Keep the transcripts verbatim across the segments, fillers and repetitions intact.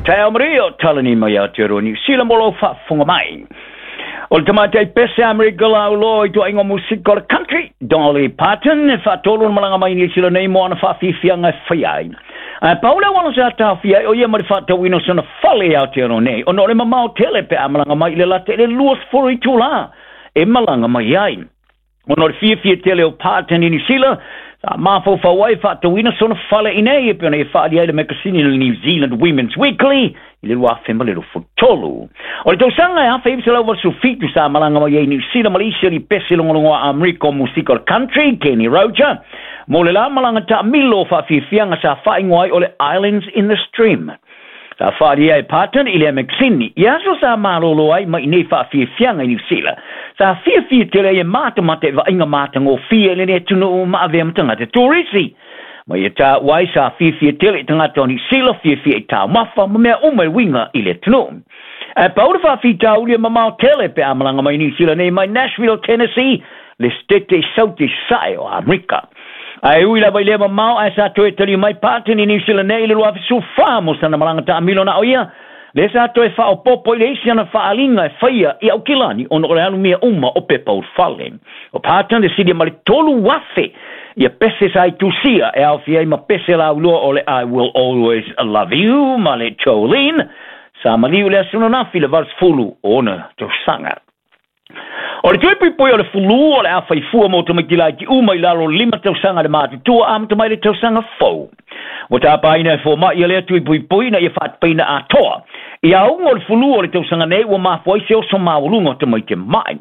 Taeao manuia o talani mai Aotearoa Niu Sila mo lou faafofoga mai. O le tamaitai pese Amerika lauloa i tuaiga musika o le country, Dolly Parton, e faatolu ona malaga mai Niu Sila nei mo ana faafiafiaga e faia ai. Ae pau le auala sa taofia ai o ia ma le faatauina o sana fale i Aotearoa nei, ona o le mamao tele pe a malaga mai i le lata i le luasefulu itulā e malaga mai ai. Ona o le fiafia tele o Parton i Niu Sila, sa mafaufau ai faatauina sona fale i nei e pei ona ia faaalia ai le makasini le New Zealand Women's Weekly i le lua afe ma le luasefulu tolu. O le tausaga e afe iva selau valusefulu fitu sa malaga mai ai Niu Sila ma le isi alii pese logologoa Amerika o musika o le country, Kenny Roger, mo le la malaga taamilo o faafiafiaga sa faaigoa ai o le Islands in the Stream. Sa faaalia e Parton i lea makasini i aso sa malolo ai mai nei faafiafiaga i Niu Sila. Sa fiafia tele ai e matamata i vaaiga matagofie i lenei atunuu ma avea ma tagata turisi. Ma ia taua ai sa fiafia tele i tagata o Niu Sila, fiafia i taumafa ma mea uma e uiga i le atunuu. Ae pau le faafitauli e mamao tele pe a malaga mai Niu Sila nei mai Nashville, Tennessee, le setete i Saute i Sae o Amerika. Ae ui lava i lea mamao, ae sa toe taliu mai Parton i Niu Sila nei i le lua afe sefulu fa mo sana malaga taamilo na o ia, lea sa toe faaopoopo i le isi ana faaaliga e faia i Aukilani ona o le alumia uma o pepa ulufale. O Parton le silia ma le tolu afe ia pese sa i tusia e aofia ai ma pese lauloa o le I Will Always Love You ma le Jolene, sa maliu i le aso ananafi le valusefulu o ona tausaga. O le tui puipui o le fulu o le a faifua mo tamaiti laiti uma i lalo o le lima tausaga le matutua amata mai le tausaga fou. Ua tapaina e fomaʻi lea tui puipui ina ia faatapaina atoa. I auga o le fulu o le tausaga nei ua mafua ai se oso maualuga o tamaiti maʻi.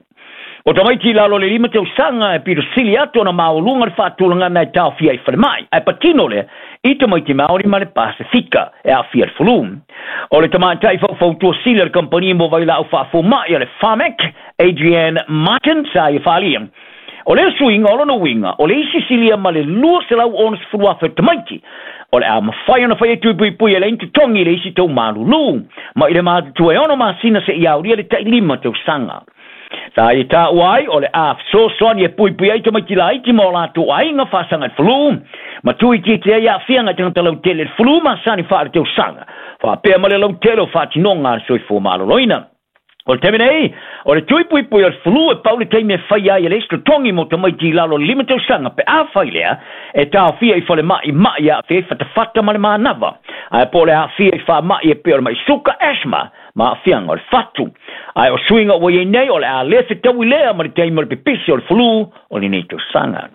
O tamaiti i lalo o le lima tausaga e pito sili atu ona maualuga le faatulagaga e taofia ai falemai, ae patino lea i tamaiti Maori ma le Pasifika e aafia i le fulu. O le tamaitai faufautua sili a le kamupani mo vailaau faafomaʻi a le Pharmac, Adrienne Martin, sa ia faaalia. O lea suiga o lona uiga o le isi silia ma le lua selau onosefulu afe o tamaiti o le a mafai ona faia tui puipui e leai ni totogi i le isi tau malulu mai le matutua e ono masina seia aulia le tailima tausaga. Sa ia taua ai o le a fesoasoani e puipui ai tamaiti laiti ma o latou aiga faasaga i le fulu, ma tuuitiitia ai aafiaga i tagata lautele i le fulu masani faaletausaga, faapea ma le lautele o faatinoga a le soifua maloloina. O le taimi nei, o le tui puipui o le fulu e pau le taimi e faia ai e le isi totogi mo tamaiti i lalo o le lima tausaga pe a fai lea e taofia i falemai maʻi e aafia ai fatafata ma le manava, ae po o le aafia i faamaʻi e pei o le maʻi suka, asthma, ma aafiaga o le fatu. Ae o suiga ua i ai nei o le a le fetaui lea ma le taimi o le pipisi o le fulu o lenei tausaga.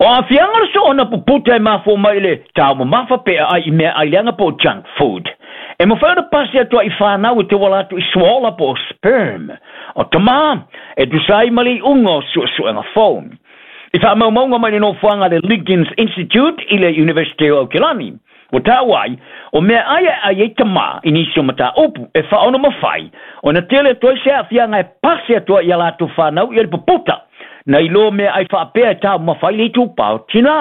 O aafiaga o le soona puputa e mafua mai i le taumamafa pe aai i meaai leaga po o junk food. E mafai ona pasi atu ai i fanau e tauala atu i suaola po o sperm o tamā e tusa ai ma le iuga o suesuega fou. I faamaumauga mai le nofoaga a le Liggins Institute i le University o Aukilani, ua taua ai o meaai e ai ai tamā i nisi o mataupu e faaono mafai ona tele atu ai se aafiaga e pasi atu ai i a latou fanau ia le puputa nai lo meaai faapea e taumamafa ai le itupa o tinā.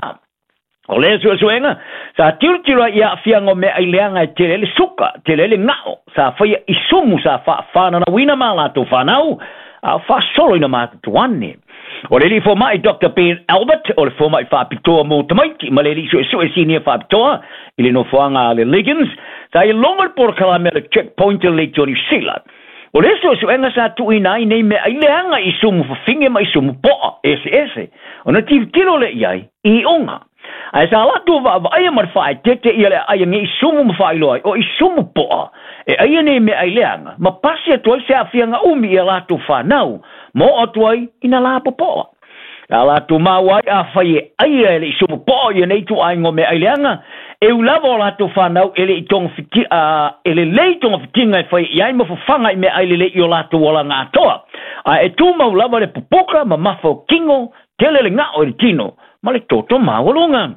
O lea suesuega, sa tilotilo ai i aafiaga o meaai leaga e tele ai le suka, tele ai le gao, sa faia i sumu sa faafananauina ma latou fanau, a o faasoloina matutu ane. O le alii fomaʻi Doctor Ben Albert, o le fomaʻi faapitoa mo tamaiti ma le alii suesue sinia faapitoa i le nofoaga a le Liggins, sa ia logo le polokalame a le Checkpoint i le Leitio Niu Sila. O le suesuega sa tuuina ai nei meaai leaga i sumu fafine ma i sumu poa eseese, ona tilotilo lea i ai i iuga. Ae sa latou vaavaaia ma le faaeteete ia le aai nei i sumu ma faailoa ai o i sumu poa e aia nei meaai leaga ma pasi atu ai se aafiaga umi i a latou fanau ma oo atu ai i na lapopoa. Sa latou maua ai afai e aia e le i sumu poa ia nei ituaiga o meaai leaga, e ui lava o latou fanau e le i togafiti, a, e lelei togafitiga e fai i ai ma fafaga i meaai lelei i o latou olaga atoa, ae e tumau lava le pupuka ma mafa o kino, tele le gao i le tino ma le toto maualuga.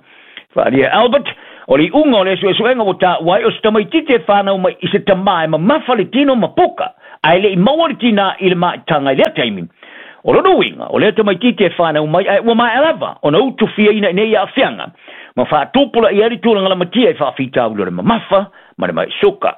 Faaalia Albert, o le iuga o le suesuega ua taua ai o se tamaitiiti e fanau mai i se tamā e mamafa le tino ma puka, ae le i maua le tinā i le maitaga i lea taimi. O lona uiga, o lea tamaitiiti e fanau mai ae ua maea lava ona utufiaina i nei aafiaga, ma faatupulaia ai le tulaga lamatia i faafitauli o le mamafa ma le maʻi suka.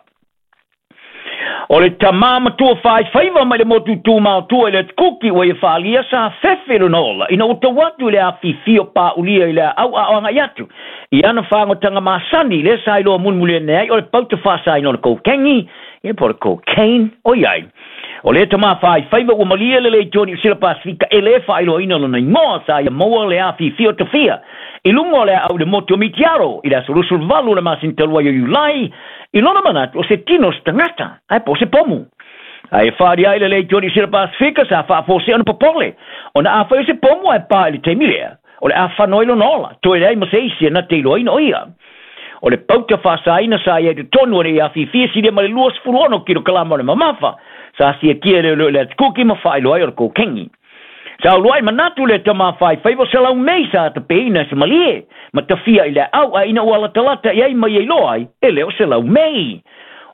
O le tamā matua faifaiva mai le motu tumautua i le Kuki ua ia faalia sa fefe lona ola ina ua tau atu i le afifio pa'ulia i le aau a'oaga atu i ana fagotaga masani lea sa iloa mulimuli ane ai o le pauta faasaina o le kokeni ia po o le cocaine o iai. O le tamā faifaiva ua malie le lei toni o Sila Pasifika e lē faailoaina lona igoa sa ia maua le afifio tafia i luga o le aau i le motu o Mitiaro i le aso luasuluvalu o le masina talu ai o Iulai i lona manatu o se tino se tagata ae po o se pomu. Ae faalia ai le lei toni o Sila Pasifika sa faafosea ona popole ona afai o se pomu ae pā i le taimi lea o le afano ai lona ola toe leai ma se isi e na te iloaina o ia. O le pauta faasaina sa ia i totonu o le afifia silia ma le luasefulu ono kilokalama o le mamafa sa siakia le le atukuki ma faailoa ai o le kokeni. Sa uluai manatu le tamā faifaiva o se laumei sa tapeina se malie ma tafia i le au a ina ua latalata i ai mai ai loa ai e le o se laumei.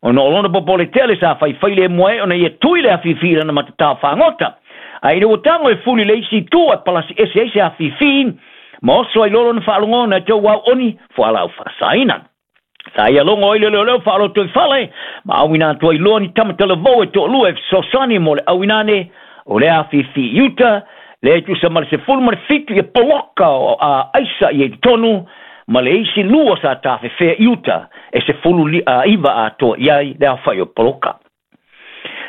Ona o lona popole tele sa faifai le mua e ona ia tui le afifi i lana matatā fagota. A ina ua tago e fuli le isi itu ae palasi ese ai se afifi ma oso ai loa lona faalogona e tou au oni fualau faasaina. Sa ia logo ai le leoleo faaloto i fale ma auina atu ai loa ni tamatalavou e toalua e fesoasoani mo le auina ane o le afifi i uta le tusa ma le sefulu ma le fitu ia poloka o a aisa i e totonu ma le isi lua sa tafefea i uta e sefulu li, a, iva atoa i ai le aofai o poloka.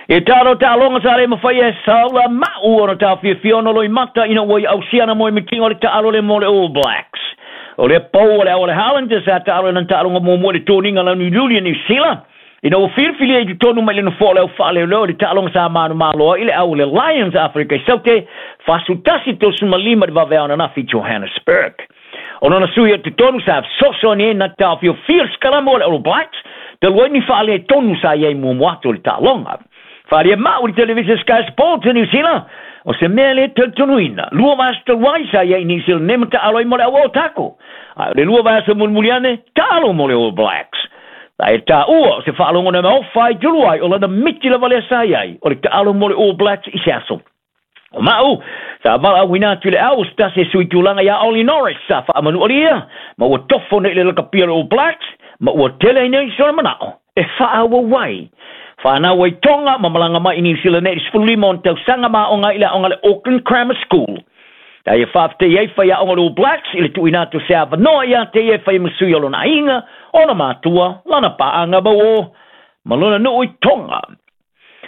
E talo taaloga sa le mafai e saula ma'u ona taofiafia ona loimata ina ua i ausiana mo e mitinga o le taalo le mo le All Blacks. O le pau o le ao le Highlanders sa taalo na taaloga muamua i le toniga launiuliuli e Niu Sila ina ua filifilia i totonu mai le nofoa o le au faaleoleo i le taaloga sa manumalo ai le au le Lions Afrika i Saute fasutasi tosumalima le vaveao ananafi i Johannesburg. O lona sui o totonu sa fesoasoani ai na taofiofia le sikalama o le All Blacks talu ai ni faaletonu sa i ai muamua atu o le taaloga. Faalia ma'u i le television Sky Sports e Niu Sila o se mea le talitonuina. Lua vaiaso talu ai sa i ai i Niu Sila nei ma taalo ai mo le au o tako. Ae o le lua vaiaso mulimuli ane taalo mo le All Blacks. Ae taua o se faalogona maofa ai tulu ai o lana miti lava lea sa i ai o le taalo mo le All Blacks i se aso. O ma'u sa valaauina atu i le au o se tasi e sui tulaga iā Ollie Norris sa faamanualia ma ua tofo nei i le lakapia o le All Blacks ma ua tele ai nei sona manao e faaauau ai. Whanau ai Tonga ma malanga mai i New Zealand nei i le sefululima ona tausaga ma aoga i le aoga le Auckland Grammar School. Ta ia faafetai ai faiaoga o le All Blacks i le tuuina atu o se avanoa ia te ia e fai ma sui o lona aiga, ona matua, lana paaga mauō ma lona nuu i Tonga.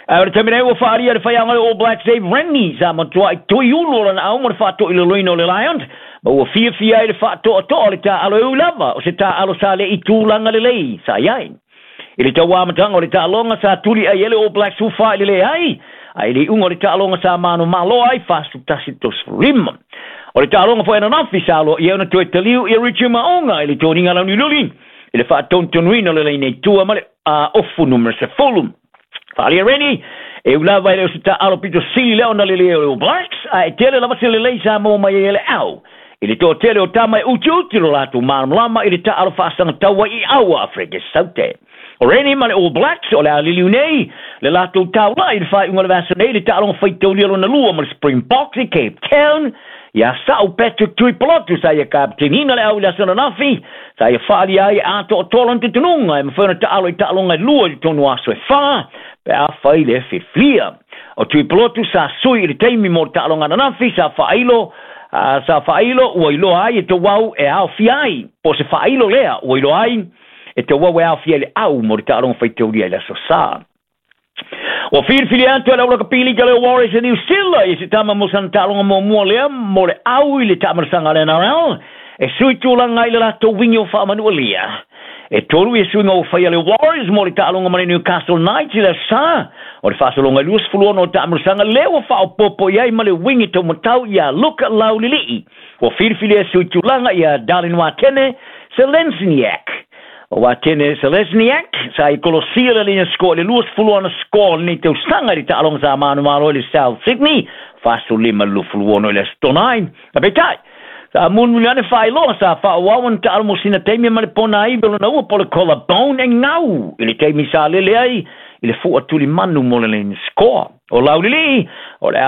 Ae o le taimi nei ua faalia le faiaoga le All Blacks Dave Rennie sa matuai tui ulu o lana au mo le faatoilaloina o le Lions ma ua fiafia ai le faatoatoa o le taalo e ui lava o se taalo sa le i tulaga lelei sa i ai. I le tauamataga o le taaloga sa tuli ai e le All Blacks ufa i le leai, ae i le iuga o le taaloga sa manumalo ai fasutasi tosefululima. O le taaloga foi ananafi sa aloaia ona toe taliu ia Richie Maonga i le toniga launiululi i le faatonutonuina o le laina i tua ma le uh, ofu numera sefulu. Faalia Rennie e ulava e le o se taalo pito sili lea ona lelei o le All Blacks, ae tele lava se lelei sa maua mai ai e le au. I le toatele o tama e utiuti lo latou malamalama i le taalo faasagatau ai i aua Afrika i Saute. O Rennie ma le All Blacks o le a liliu nei le latou taula'i i le faaiuga o le vaiaso nei i le taaloga faitaulia lona lua ma le Springboks i Cape Town. Ia sa'u Patrick Tuipolotu sa ia kapiteniina le au i le aso ananafi sa ia faalia ai e atoatoa lona talitonuga e mafai ona taalo i taaloga e lua i totonu o aso e fā pe afai le filifilia. O Tuipolotu sa sui i le taimi mo le taaloga ananafi sa faailo uh, sa faailo ua iloa ai e tauau e aofia ai po o se faailo lea ua iloa ai e tauau e aofia i le au mo le taaloga faitaulia i le aso Sā. Ua filifili atu e le aulakapili ka le Warriors e Niu Sila i se tama mo sana taaloga muamua lea mo le au i le taamalasaga a le N R L e sui tulaga ai le latou wingi o faamanualia. E tolu ia suiga ua faia le Warriors mo le taaloga ma le Newcastle Knights i le aso Sā o le faasologa i luasefulu ono o taamalasaga lea ua faaopopo i ai ma le wingi taumatau ia Luka Laulilii. Ua filifili e sui tulaga ia Darlin Watene Selesniak. O Watene Selesniak sa i kolosia le lina score le luasefulu ono score lenei tausaga i le taaloga sa manumalo i le South Sydney fasulima luasefulu ono i le aso Tonai. A peitai sa mulimuli ane faailoa sa faaauau ona taalo mo sina taimi ma le pona aivi o lona ua po le collarbone e gau i le taimi sa lele ai i le fuatulimanu mo le lane score. O Laulilii o le a